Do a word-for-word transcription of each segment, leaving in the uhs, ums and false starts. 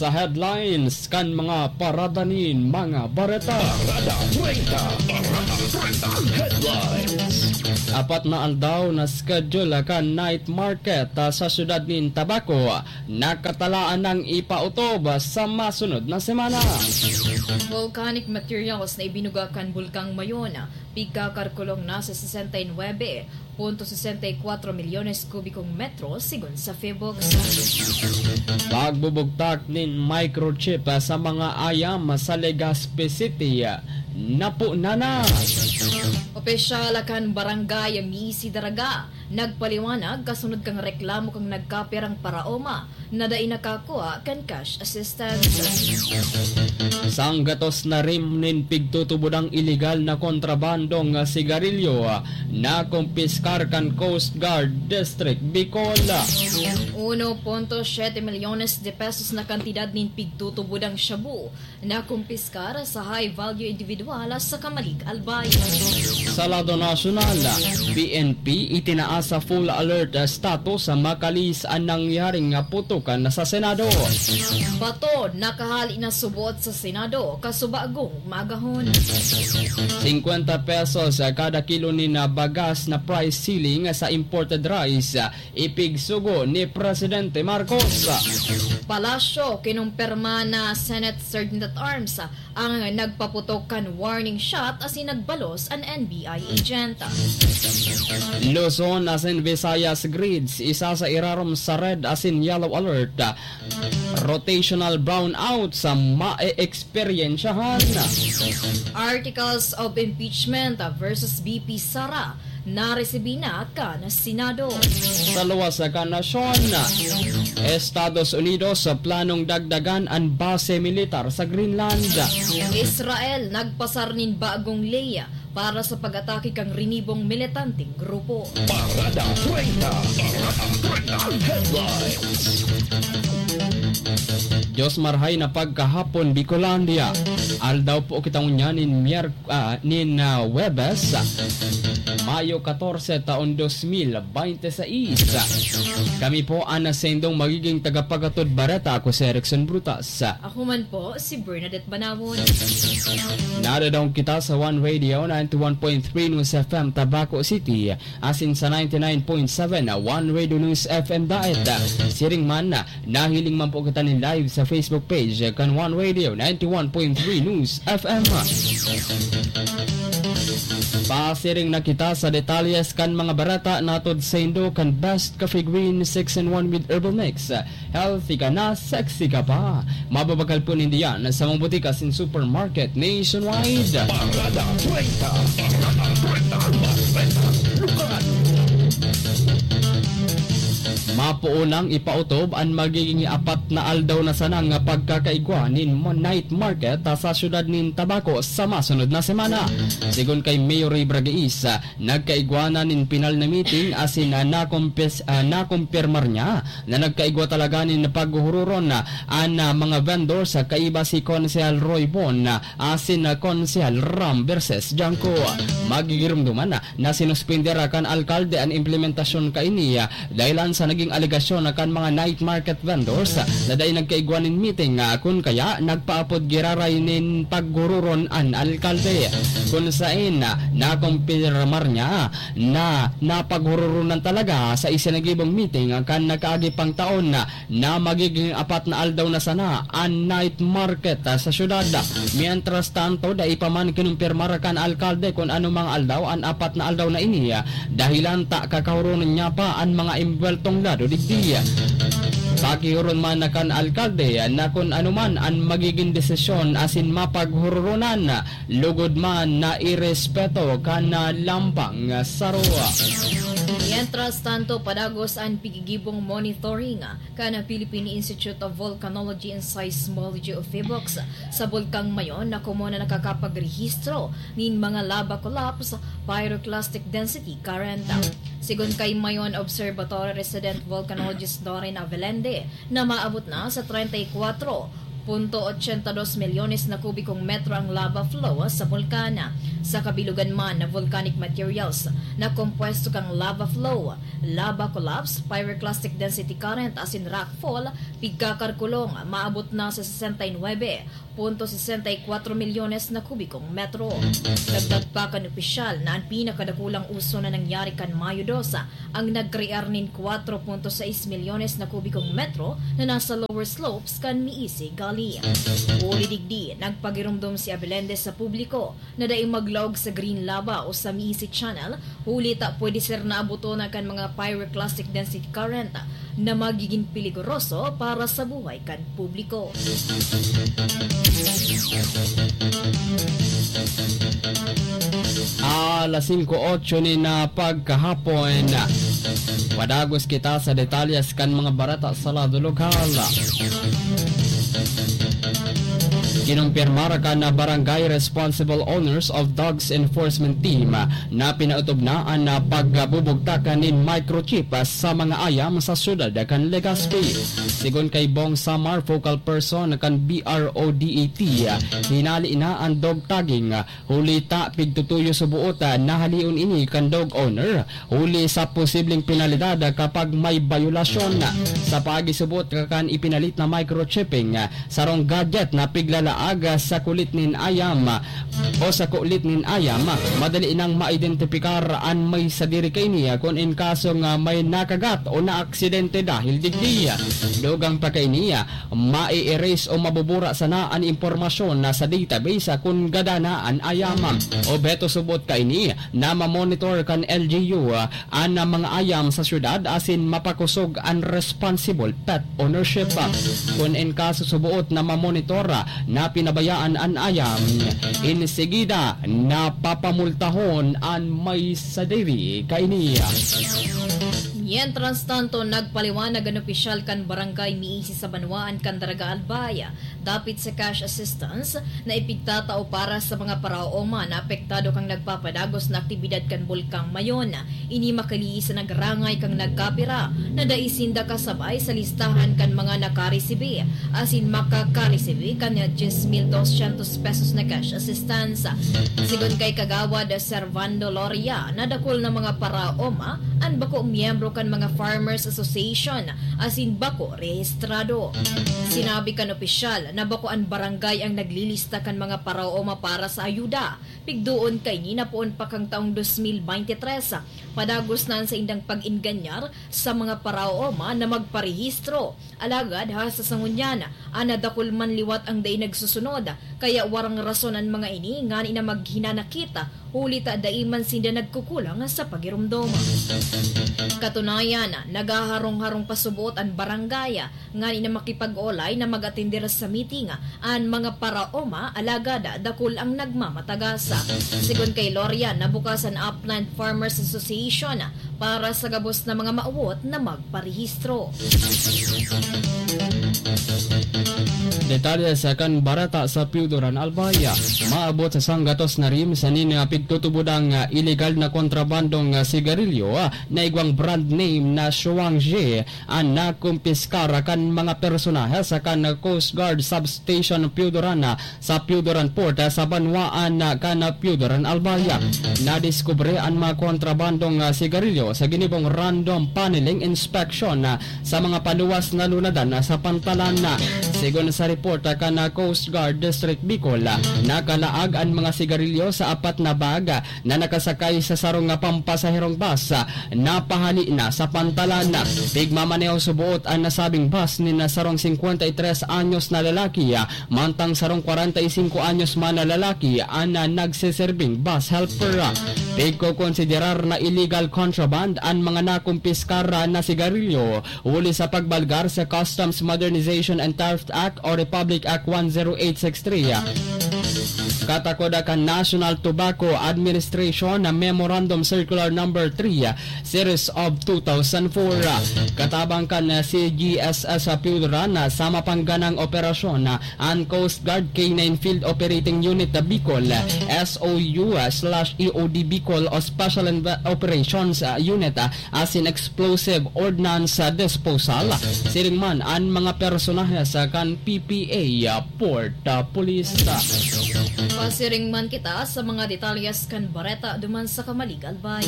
sa headlines kan mga parada nin mga bareta. Parada treinta, Parada treinta Headlines. Apat na aldaw na schedule kan night market, ah, sa siyudad nin Tabaco, nakatalaan nang ipautob sa masunod na semana. Volcanic materials na ibinuga kan Bulkang Mayon, pigkakalkulong na sa sesenta y nuebe punto sesenta y kuwatro milyones kubikong metro, sigon sa Phibux. Pagbubugtak nin microchip sa mga ayam sa Legazpi City, napunan na. Opisyal kan Barangay Misi Daraga nagpaliwanag kasunod kan reklamo kan nagkapirang paraoma na dai nakakua kan cash assistance. Sanggatos na rim nin pigtutubodang iligal na kontrabandong sigarilyo nakumpiskar kan Coast Guard District Bicol. Uno punto siete milyones de pesos na kantidad nin pigtutubodang shabu nakumpiskar sa high value individual sa Camalig, Albay. Sa lado nasyonal, P N P itinaas sa full alert status sa makalis an nangyaring putukan sa Senado. Bato nakahali na subot sa Senado, kasubagong maagahon. Singkwenta pesos kada kilo nin bagas na price ceiling sa imported rice, ipigsugo ni Presidente Marcos. Palasyo, kinumpirma na Senate Sergeant at Arms ang nagpaputok kan warning shot asin nagbalos an N B I agent. Luzon asin Visayas grids isa sa irarom sa red asin yellow alert. Rotational brownout sa mae-eksperyensyahan. Articles of impeachment versus V P Sara naresibi na kan Senado. Sa luwas kan nasyon, Estados Unidos planong dagdagan an base militar sa Greenland. Israel nagpasar nin bagong ley para sa pag-atake kan rinibong militanteng grupo. Parada treinta, Parada treinta Headlines. Diyos marhay na pagkahapon, Bicolandia. Aldaw po kita ngunyan nin Mier-, ah, nin, ah, Huwebes, Mayo katorse, taon dos mil baynte sais. Kami po an saindong magiging tagapaghatod bareta. Ako si Erickson Brutas. Ako man po, si Bernadette Banawon. Nadadaog kita sa One Radio ninety-one point three News F M Tabaco City, asin sa ninety-nine point seven One Radio News F M Daet. Siring man, nahiling man po kita nin live sa Facebook page kan One Radio ninety-one point three News F M. Pasiring na kita sa detalyes kan mga bareta natod saindo kan Best Coffee Green six in one with Herbal Mix. Healthy ka na, sexy ka pa. Mababakal po ninda yan sa mga butika asin supermarket nationwide. Parada treinta, Parada treinta, Parada treinta, lokal. Mapoon nang ipautob an magiging apat na aldaw na sana nga pagkakaigwa nin mo-, night market, ah, sa siyudad nin Tabaco sa masunod na semana. Sigon kay Mayor Ray Bragais, ah, nagkaigwa na nin pinal na meeting asin, ah, nakumpis-, ah, nakumpirmar niya na nagkaigwa talaga nin paghuhuroron, ah, an, ah, mga vendors, ah, kaiba si Konsehal Roy Bon, ah, asin, ah, Konsehal Ram Verses Janko. Magigirumduman na na sinuspender kan alkalde an implementasyon kaini, ah, dahelan sa naging alegasyon kan mga night market vendors, ah, na dai nagkaigwa nin meeting, ah, kun kaya nagpaapod giraray nin paghururon an alkalde. Kun saen, ah, nakumpirmar niya na napaghururonan talaga sa isinagibong meeting kan nakaagi pang taon, ah, na magiging apat na aldaw na sana an night market, ah, sa syudad. Mientras tanto, dai pa man kinumpirmar kan alkalde kun ano mga aldaw an apat na aldaw na ini, ah, dahelan ta kakahuronon niya pa an mga embuweltong lado digdi. Pakihuron man na kan alkalde, ah, na kun ano man an magiging desisyon asin mapaghururonan, ah, lugod man na irespeto kan, ah, lampang, ah, saro. Mientras tanto, padagos an pigigibong monitoring, ah, kan Philippine Institute of Volcanology and Seismology o PHIVOLCS sa Bulkang Mayon na komon na nakakapagrehistro nin mga lava collapse, pyroclastic density current. Sigon kay Mayon Observatory resident volcanologist Dorin Avelende, na maabot na sa treinta y kuwatro Punto ochenta dos milyones na kubikong metro ang lava flow sa bulkan. Sa kabilugan man na volcanic materials na kompuesto kan lava flow, lava collapse, pyroclastic density current asin rockfall, pigkakarkulong, maabot na sa sesenta y nuebe punto sesenta y kuwatro milyones na kubikong metro. Dagdag pa kan opisyal na an pinakadakulang uso na nangyari kan Mayo dos ang nagkrear nin kuwatro punto sais milyones na kubikong metro na nasa lower slopes kan Miisi Gully. Huli digdi, nagpagiromdom si Abelende sa publiko na dai maglaog sa Green Lava o sa Miisi Channel, huli ta pwede sira naaboton kan mga pyroclastic density current na magiging peligoroso para sa buhay kan publiko. Alas singko otso nin pagkahapon. Padagos kita sa detalyes kan mga bareta sa lado lokal. Kinumpirmar kan Barangay Responsible Owners of Dogs Enforcement Team na pinaotob na an pagbubugtak nin microchip sa mga ayam sa siyudad kan Legazpi. Sigon kay Bong Samar, focal person kan B R O D E T, hinali na an dog tagging, huli ta pigtutuyo suboot na halion ini kan dog owner, huli sa posibleng penalidad kapag may bayolasyon. Sa pagisuboot kan ipinalit na microchipping, sarong gadget na piglalaag sa kulit nin ayam o sa kulit nin ayam, madali nang maidentipikar an may sadiri kaini kun in kasong may nakagat o naaksidente dahil digdi. Dugang pa kaini, mai-erase o mabubura sana an impormasyon na sa database kun gada na an ayam. Obheto suboot kaini na mamonitor kan L G U an mga ayam sa syudad asin mapakosog an responsible pet ownership. Kun in kaso suboot na mamonitor na pinabayaan an ayam, insigida na papamultahon an may sadiri kaini. Mientras tanto, nagpaliwanag an opisyal kan barangay Miisi sa banwaan kan Daraga Albay, dapit sa cash assistance na ipigtatao para sa mga paraoma na apektado kan nagpapadagos na aktibidad kan Bulkang Mayon. Ini makali sa nagrangay kan nagkapira na dai sinda kasabay sa listahan kan mga nakaresibi asin makakaresibi kan diyes mil dosyentos pesos na cash assistance. Sigon kay Kagawad Servando Loria, na dakul na mga paraoma an bako miyembro kan mga Farmers Association asin bako rehistrado. Sinabi kan opisyal na bako an barangay ang naglilista kan mga paraoma para sa ayuda. Pigdoon kaini na poon pa kan taong dos mil baynte tres, padagos na an saindang pag-enganyar sa mga paraoma na magparehistro. Alagad hasta sa ngunyan, an nadakul man liwat ang dai nagsusunod, kaya warang rason an mga ini ngani na maghinanakit, huli ta dai man sinda nagkukulang sa pagiromdom. Katunayan, naghaharong-harong pa suboot an barangay ngani na makipag-olay na mag-atender sa meeting an mga paraoma, alagad dakul ang nagmamatagas. Sigon kay Loria, nabukas an Upland Farmers Association para sa gabos na mga maawot na magparehistro. Detalye sa kan bareta sa Piyudoran Albay. Maabot sa sanggatos na rim sa nin pigtutubodang illegal na kontrabandong sigarilyo na igwang brand name na Shuangji an nakumpiskar kan mga personahe sa kan Coast Guard Substation Piyudoran sa Piyudoran Port sa banwaan kan Piyudoran Albay. Nadiskubre an mga kontrabandong sigarilyo sa ginibong random panelling inspection sa mga paluwas na lunadan sa pantalan. Sigon sa report kan Coast Guard District Bicol, nakalaag an mga sigarilyo sa apat na bag na nakasakay sa sarong pampasaherong bus na pahali na sa pantalan. Pigmamaneho suboot an nasabing bus nin sarong singkwenta y tres anyos na lalaki, mantang sarong kwarenta y singko anyos man na lalaki an nagseserbing bus helper. Pigkokonsiderar na illegal contraband an mga nakumpiskar na sigarilyo huli sa pagbalgar sa Customs Modernization and Theft Act o Republic Act one zero eight six three. Katakod kan National Tobacco Administration na Memorandum Circular Number three, Series of two thousand four. Katabang kan C G S S Pildran, sama pang ganang operasyon, an Coast Guard Canine Field Operating Unit Bicol, S O U slash E O D Bicol o Special Inve-, Operations Unit, asin Explosive Ordnance Disposal. Siring man an mga personahe sa kan P P A, Port, ah, Police. Pasiring man kita sa mga detalyes kan bareta duman sa Camalig, Albay.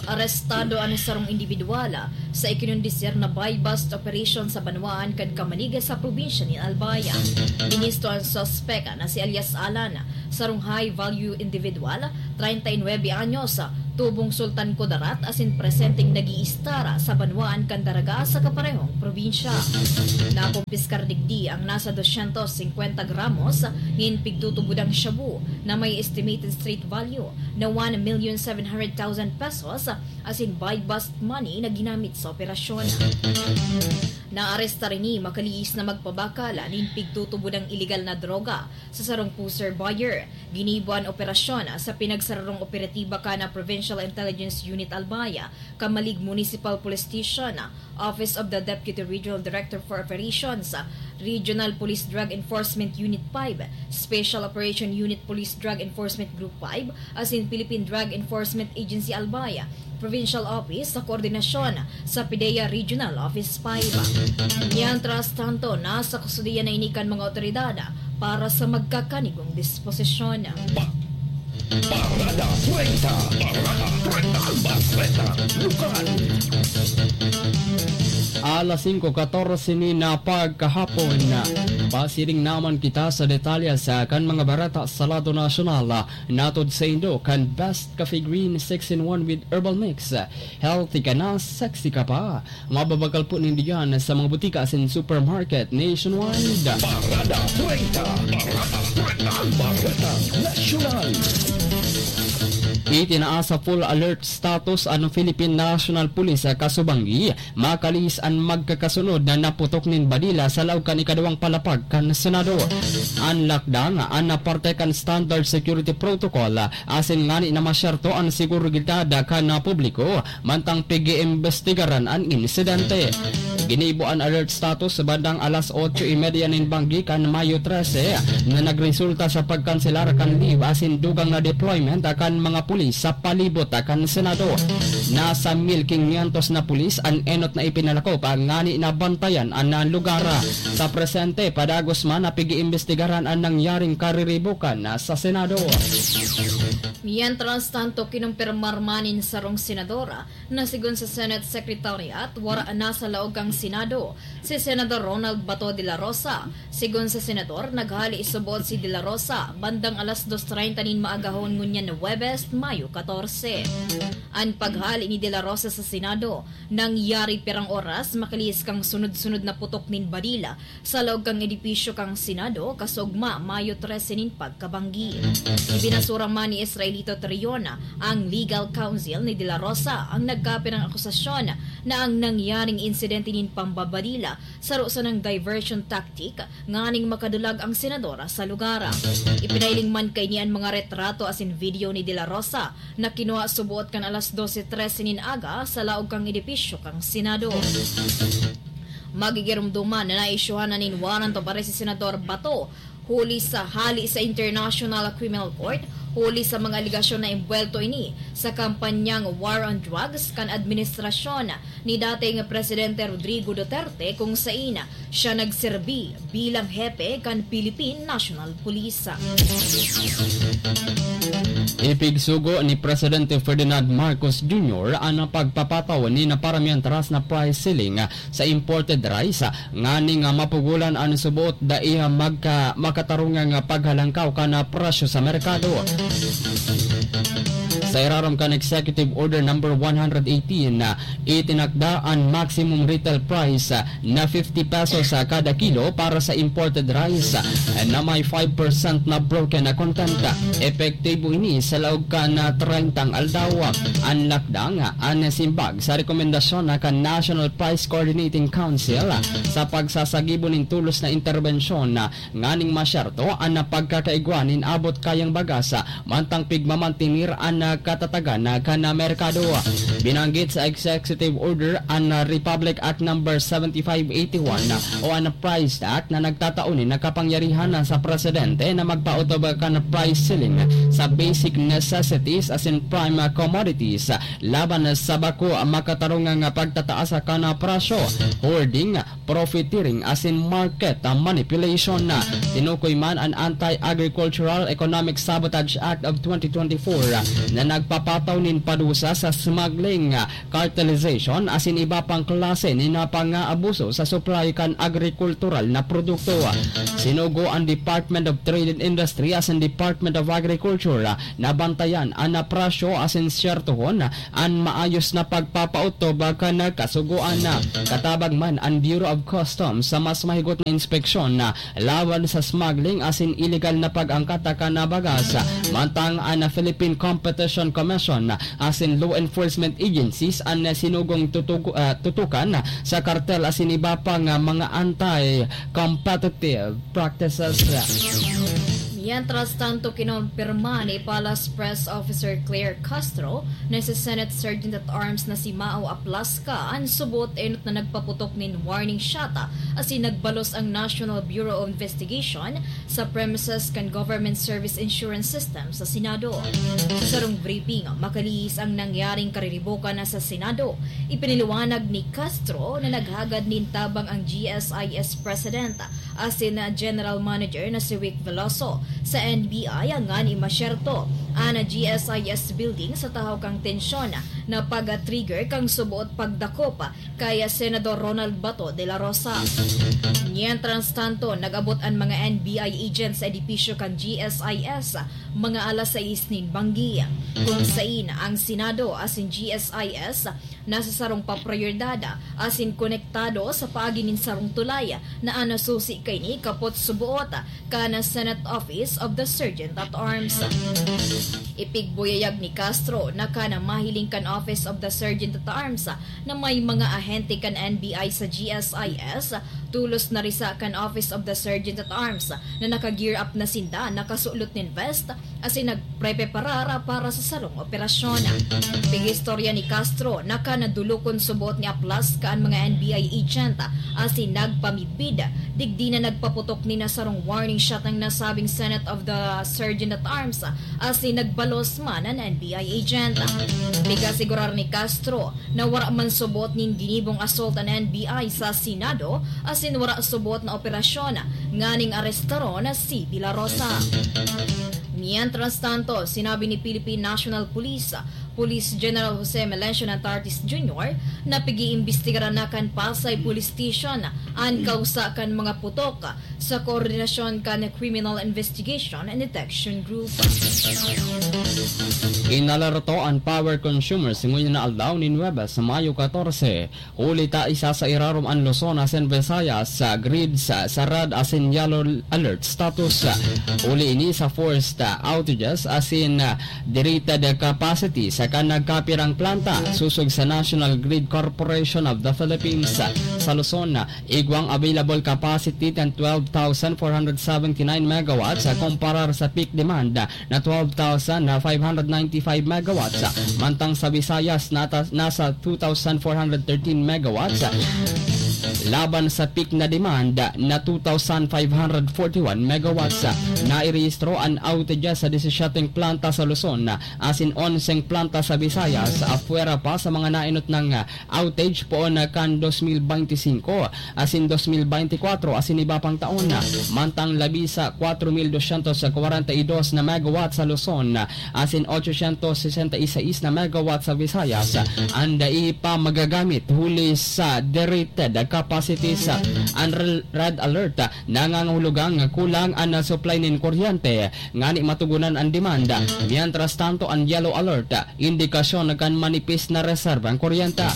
Arestado an sarong indibidwal sa ikinondisir na buy-bust operation sa banwaan kan Camalig sa probinsya nin Albay. Binisto an suspek na si alias Alan, sarong high-value individual, treinta y nueve anyos, tubong Sultan Kudarat asin presenteng nag-iistar sa banwaan kan Daraga sa kaparehong probinsya. Nakumpiskar digdi ang nasa dosyentos singkwenta gramos nin pigtutubodang shabu na may estimated street value na one million seven hundred thousand pesos asin buy-bust money na ginamit sa operasyon. Naarestar ini makalihis na magpabakal nin pigtutubodang iligal na droga sa sarong pusher buyer. Ginibo an operasyon sa pinagsararong operatiba kan Provincial Intelligence Unit Albay, Camalig Municipal Police Station, Office of the Deputy Regional Director for Operations, Regional Police Drug Enforcement Unit five, Special Operation Unit Police Drug Enforcement Group five, asin Philippine Drug Enforcement Agency Albay, Provincial Office sa koordinasyon sa PDEA Regional Office five. Mientras tanto, nasa kustodiya na ini kan mga otoridad para sa magkakanigong disposisyon. Pa-, Parada treinta. Parada treinta. Bareta Lokal. Alas singko katorse ni na pagkahapon. Pasiring naman kita sa detalye sa kan mga bareta sa lado nasyonal. Natod saindo kan Best Cafe Green six-in-one with Herbal Mix. Healthy ka na, sexy ka pa. Mababakal po nindigan sa mga butika asin supermarket nationwide. Parada treinta. Parada treinta. Bareta Nasyonal. Itinaas sa full alert status an Philippine National Police sa Kasubanggi, makalihis an magkakasunod na naputok nin badila sa laog kan ikaduwang palapag kan Senado. An lakdang, an parte kan standard security protocol, asin ngani na masyerto an seguridad kan publiko, mantang pig-iimbestigaran an insidente. Ginibo an alert status sa bandang alas otso y media nin banggi kan Mayo trese, na nagresulta sa pagkanselar kan leave asin dugang na deployment kan mga pulis sa palibot kan Senado. Nasa mil quinientos na pulis an enot na ipinalakop ngani na bantayan an lugar. Sa presente, padagos man na pig-iimbestigaran an nangyaring kariribukan sa Senado. Mientras tanto, kinumpirmar man nin sarong senador na sigon sa Senate Secretariat, wara na sa laog kan Senado si Senador Ronald Bato de la Rosa. Sigon sa senador, naghali subot si de la Rosa bandang alas dos treinta nin maagahon ngunyan na Huwebes, Mayo katorse. An paghali ni de la Rosa sa Senado nangyari pirang oras makalihis kan sunod-sunod na putok nin badila sa laog kan edipisyo kan Senado, kasugma, Mayo trese nin pagkabanggi. Ibinasura man ni Israelito Trion, ang legal counsel ni De La Rosa, ang nagkapirang akusasyon na ang nangyaring insidente nin pambabadila saro sanang diversion tactic nganing makadulag ang senador sa lugar. Ipinahiling man kaini an mga retrato asin video ni De La Rosa na kinua subot kan alas dose trese nin aga sa laog kan edipisyo kan Senado. Magigiromdoman na naisyuhan na nin warrant of arrest si Senador Bato huli sa hali sa International Criminal Court, huli sa mga alegasyon na embuwelto ini sa kampanyang War on Drugs kan administrasyon ni dating Presidente Rodrigo Duterte, kung sain siya nagserbi bilang hepe kan Philippine National Police. Ipigsugo ni Presidente Ferdinand Marcos Junior an pagpapataw ni na paramiyan taas na price ceiling sa imported rice, nganing mapugolan an subot dai magka-, makatarungang paghalangkaw kan presyo sa merkado. Sa irarom kan Executive Order Number one hundred eighteen, ah, itinakda an maximum retail price, ah, na fifty pesos sa kada kilo para sa imported rice, ah, na may five percent na broken na content. Epektibo ini sa laog kan, ah, treyntang aldaw. An lakdang, ah, an simbag sa rekomendasyon na kan National Price Coordinating Council, ah, sa pagsasagibo nin tulos na interbensyon, ah, nganing masyerto an pagkakaigwa nin abot kayang bagas, ah, mantang pigmamantenir an, ah, katatagan, ah, kan, ah, merkado. Binanggit sa Executive Order an, ah, Republic Act Number seventy-five eighty-one, ah, o an Price Act na nagtatao nin kapangyarihan, ah, sa presidente na magpaotob kan price ceiling sa basic necessities asin prime, ah, commodities, ah, laban sa bako makatarungang, ah, pagtataas kan, ah, presyo, hoarding, profiteering asin market, ah, manipulation. Tinukoy man an Anti-Agricultural Economic Sabotage Act of twenty twenty-four, ah, na nagpapataw nin padusa sa smuggling, ah, cartelization asin iba pang klase nin, ah, pang-aabuso sa supply kan agrikultural na produkto. Sinugo an Department of Trade and Industry asin Department of Agriculture, ah, na bantayan an, ah, presyo asin syertohon, ah, an maayos na pagpapaotob kan kasugoan na. Katabang man an Bureau of Customs sa mas mahigot na inspeksyon na laban sa smuggling asin iligal na pag-angkat kan bagas, mantang an Philippine Competition Commission asin law enforcement agencies an sinugong tutug-, ah, tutukan sa kartel asin iba pang, ah, mga anti-competitive practices. Mientras tanto, kinompirma ni Palace Press Officer Claire Castro na si Senate Sergeant at Arms na si Mao Aplasca an subot enot na nagpaputok nin warning shot asin nagbalos ang National Bureau of Investigation sa premises kan Government Service Insurance System sa Senado. Sa sarong briefing, makalihis ang nangyaring kariribokan na sa Senado. Ipinaliwanag ni Castro na naghagad nin tabang ang G S I S President asin General Manager na si Wick Veloso sa N B I ngani masyerto an G S I S building sa tahaw kan tensyon na pag-trigger kan subot pagdakop kay Senador Ronald Bato de la Rosa. Mientras tanto, nag-abot an mga N B I agents sa edipisyo kan G S I S mga alas sais nin banggi, kung sain ang Senado asin G S I S nasa sarong paprioridad asin konektado sa paagi nin sarong tulay na an susi kaini kapot suboot kan Senate Office of the Sergeant at Arms. Ipigbuyayag ni Castro na kan mahiling kan Office of the Sergeant at Arms na may mga ahente kan N B I sa G S I S, tulos na risa kan Office of the Sergeant at Arms na naka-gear up na sinda, nakasulot nin vest, asin nagprepreparar para sa sarong operasyon. Pigistorya ni Castro na kan nadulokon subot ni Aplasca an mga N B I agent asin nagpamidbid, digdi na nagpaputok nin sarong warning shot ang nasabing Senate of the Sergeant at Arms asin nagbalos man an N B I agent. Pigasugurar ni Castro na wara man subot nin ginibong assault an N B I sa Senado asin wara subot na operasyon nganing arestaron si De La Rosa. Mientras tanto, sinabi ni Philippine National Police Police General Jose Melencio Nantartis Junior na pag-iimbestigaran na kan Pasay Police Station an kausa kan mga putok sa koordinasyon kan Criminal Investigation and Detection Group. Inalerto an power consumers ngunyan na aldaw nin Huwebes, Mayo katorse, huli ta isa sa irarom an Luzon asin Visayas sa grids sa red asin yellow alert status. Huli ini sa forced outages asin derated capacity sa kan nagkapirang planta sosog sa National Grid Corporation of the Philippines sa Luzon. Igwang available capacity kan twelve thousand four hundred seventy-nine megawatts, ah, kumparar sa peak demand na twelve thousand five hundred ninety-five megawatts. Mantang sa Visayas, nata-, nasa two thousand four hundred thirteen megawatts, laban sa peak na demand na two thousand five hundred forty-one megawatts. Nairehistro an outages sa disisiete planta sa Luzon, asin onseng planta sa Visayas, apwera pa sa mga naenot nang outage poon kan dos mil benti singko asin dos mil benti kwatro asin iba pang taon. Mantang labi sa kwatro mil dosyentos kwarenta y dos na megawatt sa Luzon asin otsosyentos sesenta y seis na megawatt sa Visayas an dai pa magagamit huli sa derated cities, ah, an rel-, red alert, ah, nangangahulugan nga kulang an, ah, supply nin kuryente, ngani matugunan an demand. Mientras tanto, an yellow alert, ah, indikasyon kan manipis na reserba an kuryente.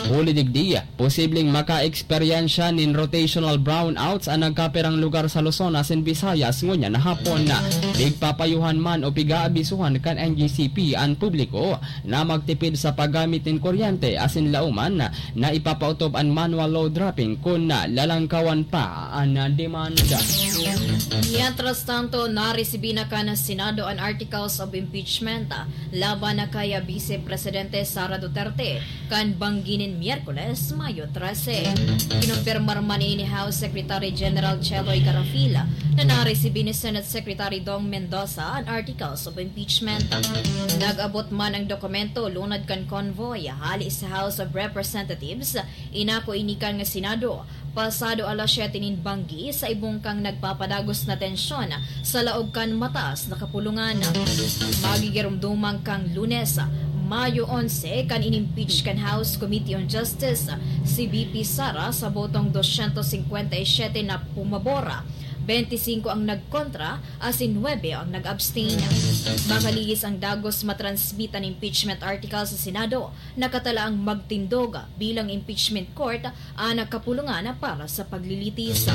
Huli digdi, posibleng maka-eksperyensya nin rotational brownouts an nagkapirang lugar sa Luzon asin Visayas ngunyan na hapon. Pigpapayuhan man o pig-aabisuhan kan N G C P an publiko na magtipid sa paggamit nin kuryente asin lauman na ipapaotob an manual load dropping kun lalangkawan pa an demanda. Mientras tanto, naresibi na kan Senado an articles of impeachment laban na kay Vice Presidente Sara Duterte kan banggi nin Miyerkules, Mayo trese. Kinumpirmar man ini ni House Secretary General Cheloy Garafil na naresibi ni Senate Secretary Dong Mendoza an articles of impeachment. Nag-abot man ang dokumento lunad kan convoy hali sa House of Representatives, inako ini kan Senado, pasado alas siyete nin banggi sa ibong kan nagpapadagos na tensyon sa laog kan mataas na kapulungan. Magigiromdoman kan Lunes, Mayo onse, kan inimpeach kan House Committee on Justice si V P Sara sa botong dosyentos singkwenta y siyete na pumabor, benti singko ang nagkontra, asin nuebe ang nag-abstain. Makalihis ang dagos matransmit an impeachment article sa Senado, nakatalaang magtindog bilang impeachment court an kapulungan para sa paglilitis.